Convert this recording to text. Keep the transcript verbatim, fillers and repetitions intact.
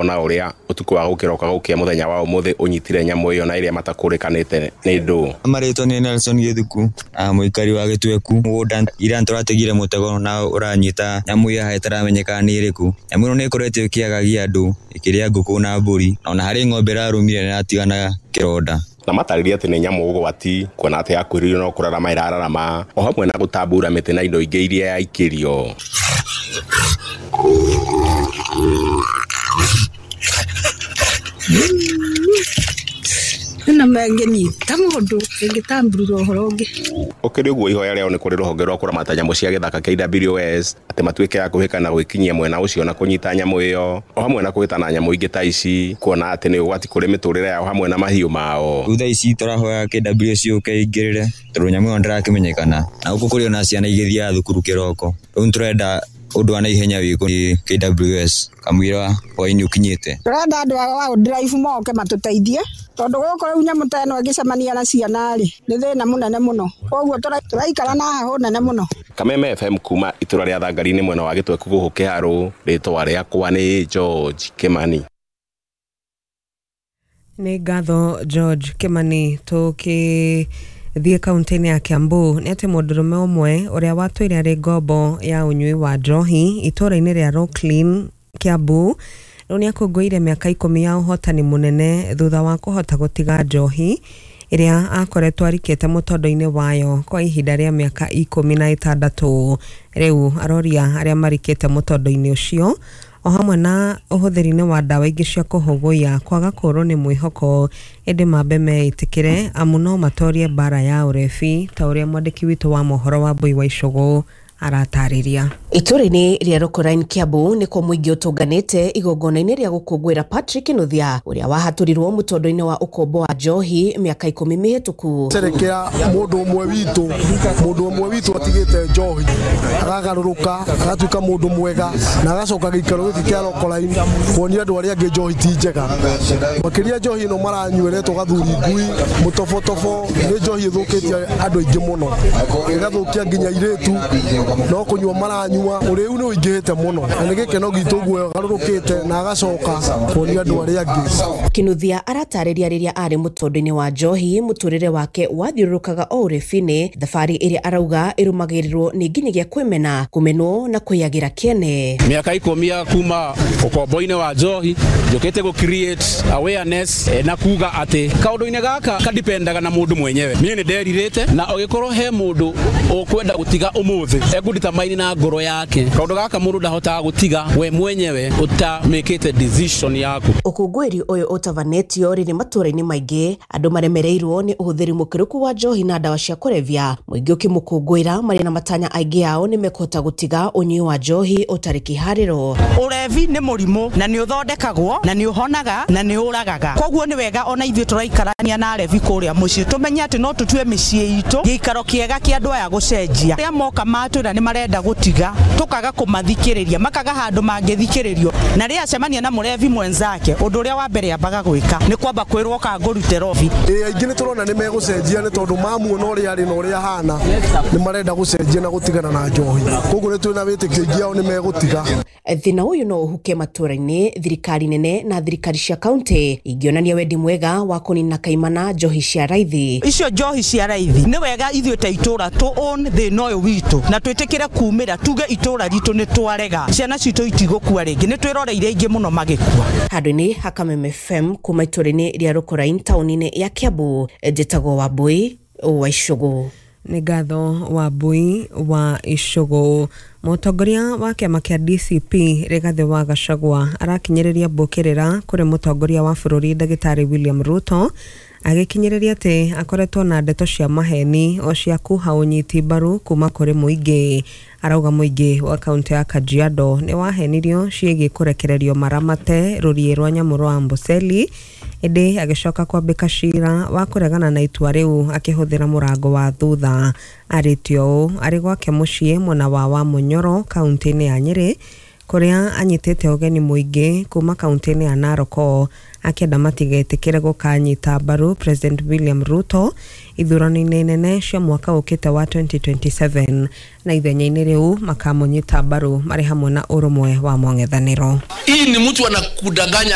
Ona ũrĩa ũtukũ wa gũkĩroka gũkĩa mũthenya wa ũmũthĩ ũnyitire nyamũ ĩyo na ĩrĩa matakũrĩkanĩte nĩ ndũ. Marĩtwa nĩ Nelson Gĩthuku, mũikari wa Gĩtweku. Mũgũnda ira tũrategire mũtego na ũranyita nyamũ ĩyo ĩtaramenyekana nĩ ĩrĩkũ. Nyamũ ĩno nĩ ĩkoretwo ĩkĩagagia andũ, ĩkĩrĩa ngũkũ na mbũri, ona harĩ ng'ombe ĩrarũmire na ĩratigana kĩronda. Na matarĩria atĩ nĩ nyamũ ũgwati kuona atĩ yakuhĩrĩirio no kũrarama ĩrararama o hamwe na gũtambura mĩtĩ na indo ingĩ iria yaikĩrio. Na mangĩnyita mũndũ ĩngĩtamburura ũhoro ũngĩ. Ũkĩrĩ ũguo ihoya rĩao nĩ kũrĩ rũhonge rwa kũramata nyamũ cia gĩthaka K W S atĩ matuĩke a kũhĩka na gwĩkinyia mwena ũcio na kũnyita nyamũ ĩyo o hamwe na kũhĩtana nyamũ ingĩ ta ici kuona atĩ nĩ ũgwati kũrĩ mĩtũrĩre yao hamwe na mahiũ mao. Rĩu thaa ici tũrahoya K W S yũke ĩingĩrĩre tondũ nyamũ ĩyo ndĩrakĩmenyekana na gũkũ kũrĩ ona ciana igĩthiaga thukuru kĩroko. Rĩu nĩtũrenda ũndũ wa naihenya wĩkwo nĩ K W S kamũira hwaĩ-inĩ ũkinyĩte. Tũrenda andũ a wildlife moke matũteithie tondũ gũkũ rĩu nyamũ ta ĩno ĩngĩcemania na ciana rĩ nĩ thĩna mũnene mũno, koguo tũraikara na heho nene mũno. Kameme F M kuma itũra rĩa Thangari-inĩ mwena wa Gĩtweku gũkũ Kĩharũ, rĩtwa rĩakwa nĩ George Kimani. Nĩ ngatho George Kimani. Tũkĩ thiĩ kaunti-inĩ ya Kiambu nĩ atĩ mũndũrũme ũmwe ũrĩa watũire arĩ ngombo ya ũnyui wa njohi itũũra-inĩ rĩa Rocklin Kiambu rĩu nĩ akũngũĩire mĩaka ikũmi ya ũhotani mũnene thutha wa kũhota gũtiga njohi ĩrĩa akoretwo arikĩte mũtondo-inĩ wayo kwa ihinda rĩa mĩaka ikũmi na ĩtandatũ. Rĩu aroria arĩa marikĩte mũtondo-inĩ ũcio o hamwe na ũhũthĩri-inĩ wa ndawa ingĩ cia kũhũgũya kwaga kũrwo nĩ mwĩhoko ĩndĩ mambe meĩtĩkĩre amu no matorie mbara ya ũrebi ta ũrĩa mwandĩki witũ wa mohoro wa Mbui wa Icũgũ aratarĩria. Itũũra-inĩ rĩa Rokorain Kiambu nĩkuo mũingĩ ũtũnganĩte igongona-inĩ rĩa gũkũngũĩra Patrick Nuthia ũrĩa wahatũrirwo mũtondo-inĩ wa ũkombo wa njohi mĩaka ikũmi mĩhĩtũku. Cerekea mũndũ ũmwe witũ mũndũ ũmwe witũ atigĩte njohi akagarũrũka agatuĩka mũndũ mwega na agacoka gĩikaro gĩkĩ kĩa Rokorain kuonia andũ arĩa angĩ njohi ti njega. Makĩria njohi ĩno maranyua ĩretwo gathuri ngui mũtobotobo nĩ njohi ĩthũkĩtie andũ aingĩ mũno ĩgathũkia nginya airĩtu no kũnyua maranyua ũrĩu nĩ ũingĩhĩte mũno na nĩ gĩkeno gitũ ũguo agarũrũkĩte na agacoka kuonia andũ arĩa angĩ. Kinuthia aratarĩria rĩrĩa arĩ mũtondo-inĩ wa njohi mũtũrĩre wake wathiũrũrũkaga o ũrebini thabarĩ ĩrĩa arauga ĩrũmagĩrĩrwo nĩ nginyagia kwĩmena kũmenwo na kwĩyagĩra kĩene. Mĩaka ikũmi ya kuma ũkombo-inĩ wa njohi njũkĩte gũ create awareness na kuga atĩ kaũndũ-inĩ gaka kadipendaga na mũndũ mwenyewe. Niĩ nĩ nderirĩte na ũgĩkorwo he mũndũ ũkwenda gũtiga ũmũthĩ egũditamaini na ngoro yake kaũndũ gaka mũndũ ndahotaga gũtiga we mwenyewe ũtamĩkĩte decision yaku. Ũkũngũĩri ũyũ ũtabanĩtio rĩrĩ matũũra-inĩ maingĩ andũ maremereirwo nĩ ũhũthĩri mũkĩrũku wa njohi na ndawa cia kũrebia mũingĩ ũkĩmũkũngũĩra marĩ na matanya aingĩ ao nĩ mekũhota gũtiga ũnyui wa njohi ũtarĩ kĩharĩro. Ũrebi nĩ mũrimũ na nĩ ũthondekagwo na nĩ ũhonaga na nĩ ũragaga, koguo nĩ wega ona ithuĩ tũraikarania na arebi kũrĩa mũciĩ tũmenye atĩ no tũtue mĩciĩ itũ gĩikaro kĩega kĩa andũ aya gũcenjia. Arĩa moka matwĩra nĩ marenda gũtiga tũkaga kũmathikĩrĩria makaga handũ mangĩthikĩrĩrio na rĩrĩa acemania na mũrebi mwenzake ũndũ ũrĩa wa mbere ambaga gwĩka nĩ kwamba kwĩrwo ka ngũrute robi. Ĩ aingĩ nĩ tũrona nĩ megũcenjia nĩ tondũ mamuona ũrĩa arĩ na ũrĩa ahana nĩ marenda gũcenjia na gũtigana na njohi, koguo nĩ twĩna wĩtĩkio aingĩ ao nĩ megũtiga. Thĩna ũyũ no ũhuke matũũra-inĩ thirikari nene na thirikari cia kaunti ingĩonania wendi mwega wa kũnina kaimana njohi cia raithi. Icio njohi cia raithi nĩ wega ithuĩ ta itũũra tũ own thĩna ũyũ witũ na twĩtĩkĩre kumĩra tuge itũũra ritũ nĩ twarega ciana citũ itigũkua rĩngĩ nĩ twĩroreire aingĩ mũno magĩkua. Handũ-inĩ ha Kameme F M kuma itũũra-inĩ rĩa Rokorain taũni-inĩ ya Kiambu njĩtagwo Wambui wa Icũgũ. Nĩ ngatho Wambui wa Icũgũ. Mũtongoria wa kĩama kĩa D C P Rigathĩ wa Gachagua arakinyĩrĩria mbũkĩrĩra kũrĩ mũtongoria wa bũrũri Ndagĩtarĩ William Ruto agĩkinyĩrĩria atĩ akoretwo na ndeto cia maheni o cia kuha ũnyiti mbaru kuma kũrĩ mũingĩ. Arauga mũingĩ wa kaunti ya Kajiado nĩ wahenirio ciĩgiĩ kũrekererio maramate rũriĩ rwa nyamũ rwa Amboseli ĩndĩ agĩcoka kwambĩka cira wa kũregana na itua rĩu akĩhũthĩra mũrango wa thutha. Arĩtio ũũ arĩ gwake mũciĩ mwena wa Wamunyoro kaunti-inĩ ya Nyĩrĩ Kũrĩa anyitĩte ũgeni mũingĩ kuma kaunti-inĩ ya Narok, akĩenda matigetĩkĩre gũkanyita mbaru President William Ruto ithurano-inĩ nene cia mwaka ũkĩte wa twenty twenty-seven, na ithenya-inĩ rĩu makamũnyita mbaru marĩ hamwe na ũrũmwe wa mũng'ethanĩro. Hii ni mtu anakudanganya.